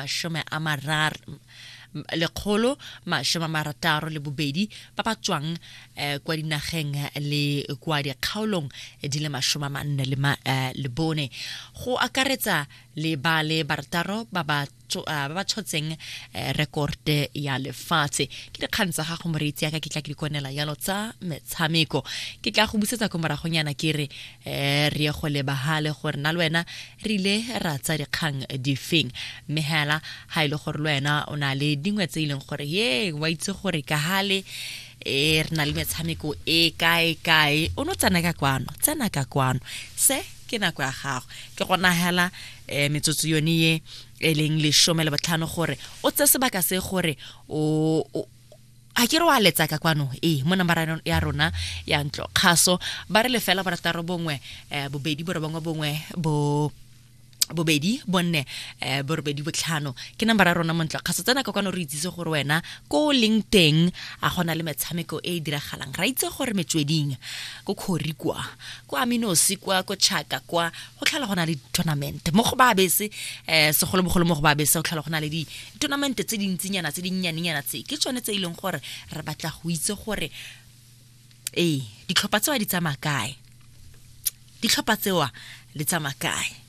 162 ba ba tswang eh, kwa dinageng le kwa dikgaolong di le 44 le bone, go akaretsa le ba le barataro ba ba ba ba tshotseng rekote ya lefatshe. Ke dikgang tsa gago, moreetsi yaka, ke tla ke di konela yalo tsa metshameko. Ke tla go busetsa ko moragonyana, ke re re ye go lebagale gore na le wena re ile ra tsa dikgang difeng. Mme hela ga e le gore le wena o na le dingwe tse e leng gore ye wa itse gore ka gale e re na le metshameko e kae kae, o no tsena ka kwano, tsena ka kwano, se ke nako ya gago. Ke go nagela metsotso yone ye e leng 15 gore o tse sebaka se gore o a ke re wa letsa ka kwano ee mo namara ya rona ya ntlo kgaso. Ba re 0 6 1 2 9 1 bo 2 4 8 5 ke nambara ya rona mo ntlo kgaso. Tsena ka kwano, re itsise gore wena ko o leng teng a gona le metshameko e e diragalang. Ra itse gore metsweding ko Kgori kwa, ko Aminosi kwa, ko Chaka kwa, go tlhola go na le di-tournament mo go ba bese, segolobogolo mo go ba bese go tlhola go na le di-tournament tse dintsinyana, tse dinnyanenyana. Tse ke tsone tse e leng gore re batla go itse gore ee, ditlhopha tsewa di tsamaya kae, ditlhopha tsewa le tsamaya kae.